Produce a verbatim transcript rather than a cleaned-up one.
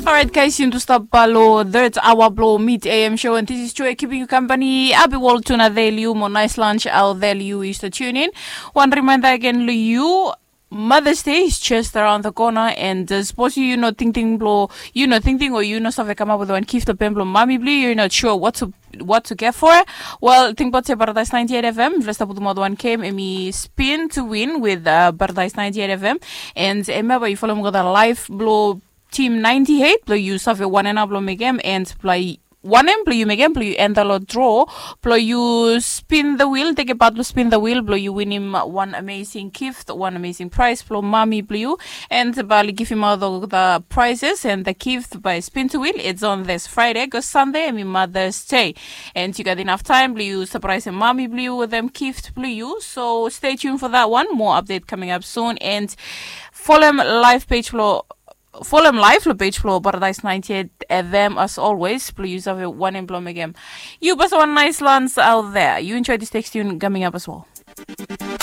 Alright, guys, yuntu stap balo third hour blo Mid A M show, and this is Joy keeping you company. Happy World Tuna Day, Liu, mo nice lunch out there, Liu, is the tune in. One reminder again, Liu, Mother's Day is just around the corner, and uh, suppose you, you know, thinking blo, you know, thinking or you know, save come up with one gift, the pen blo mommy blo, you're not sure what to what to get for. Well, think about se Paradise ninety-eight F M, vlesta putum out one game, emi spin to win with uh, Paradise ninety-eight F M, and remember, you follow me the live blo Team ninety-eight, blo you save one and up blo mekem, and blo one em blo you mekem, blo you enter lo draw, blo you spin the wheel, take a part blo spin the wheel, blo you win him one amazing gift, one amazing prize blo mommy blo you, and bali give him out the, the prizes and the gift by spin to wheel. It's on this Friday, because Sunday, emi Mother's Day. And you got enough time, blo you surprise mommy blo you with them gift blo you. So stay tuned for that one. More update coming up soon. And follow live page blo follow live lo page blo Paradise ninety-eight F M as always. Blo you save one and blo mekem. You best one nice lunch out there. You enjoy this text tune coming up as well.